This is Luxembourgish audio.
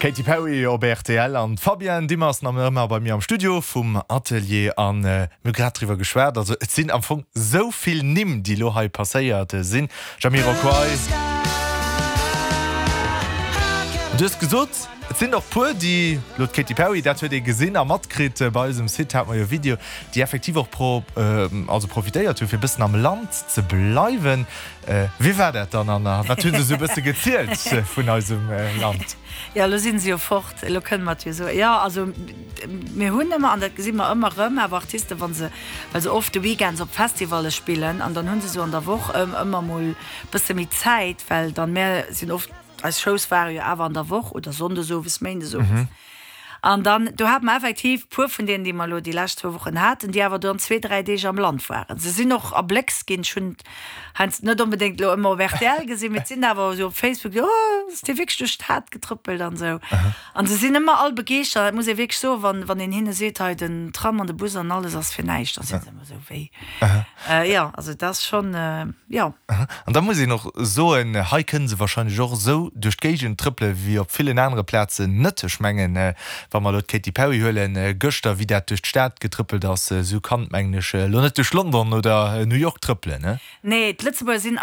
D'Katy Perry op rtl an d'Fabienne Dimmer ass nach ëmmer bei mir am Studio vum Atelier an mir hu grad driwwer geschwat. Also et sinn am Fong sou vill Nimm, déi elo hei passéiert sinn. Jamiroquai. Du hues gesot, et sinn och puer, déi elo d'Katy Perry, dat huet ee gesinn a matkritt, bei eisem Site hate mer jo e Video, déi effektiv och pro also profitéiert hu fir e bëssen am Land ze bleiwen. Wéi war dat dann an a wat hu se esou e bësse gezielt vun eisem Land? Jo, elo si se jo fort, elo kënne mer et jo soen. Jo, also mir hunn ëmmer, an dat gesi mer ëmmer erëm, awer Artisten, wa se, well se oft de Weekends op Festivalle spillen an dann hu se esou an der Woch ëmmer mol e bësse méi Zäit, well dann, mär sinn oft, eis Shows ware jo awer an der Woch oder sonndes owes, méindes owes. An dann, do hate mer effektiv puer vun deenen, déi mer elo déi lescht zwou Wochen haten, déi awer dann zwee, dräi Deeg am Land waren. Se sinn och erbléckst ginn. Ech hunn et heiansdo net onbedéngt elo ëmmer op rtl gesinn, mee et sinn awer esou op Facebook, oh, ass dee wierklech duerch d'Stad getrëppelt an esou. An se sinn ëmmer all begeeschtert, dat muss ee wierklech soen, wann, wann een hinne seet, hei den Tram an de Bus an alles ass fir näischt, da si se ëmmer esou, wéi? Jo, also et ass schonn, jo. An da muss een och soen, hei kënne se wahrscheinlech och esou duerch d'Géigend trëppele wéi op villen anere Plazen net. Ech mengen, wa mer elo d'Katy Perry huelen, gëschter, wéi dat duerch d'Stad getrëppelt ass, esou kann et, mengen ech, elo net duerch London oder New York trëppelen. Nee, d'Lëtzebuerger sinn.